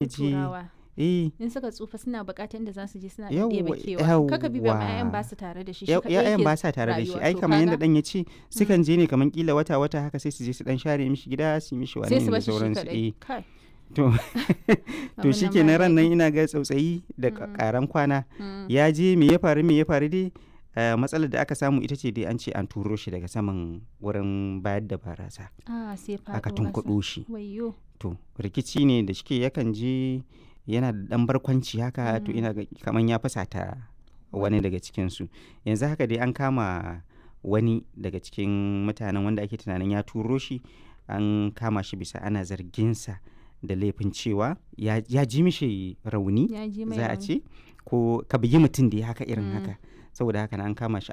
Je Turawa. Eh. In suka tsufa suna buƙatar inda za su je suna ɗan ɗebe Yauwa kewa. Kaka bi ma 'ya'yan yauwa. ba su tare da shi, shi kaɗai 'Ya'yan yake ba sa tare da shi. rayuwa. Ai To kamar yadda kaga ɗan ya ce sukan je ne kamar kila wata wata haka, sai su je su ɗan share mishi gida, su yi mishi wane sai su ne da bar shi shi sauransu. kaɗai. Eh. Kai. To to Abin nan ba shikenan ran nan daɗi. ina ga tsautsayi da ƙaran kwana. Ya je, me ya faru, me ya faru dai, matsalar da aka samu ita ce dai an ce an turo shi daga saman wurin bayar da barasa. Ah, sai Aka faɗo ƙasa. tunkuɗo shi. Wayyo. To rikici ne da shike yakan je yana da ɗan barkwanci haka, to ina ga kamar ya fusata wani daga cikinsu. Yanzu haka dai an kama wani daga cikin mutanen wanda ake tunanin ya turo shi, an kama shi bisa ana zarginsa da laifin cewa ya ji mishi rauni Ya ji mai za a rauni. ce, ko ka bugi mutum dai haka irin haka. Saboda haka nan an kama shi.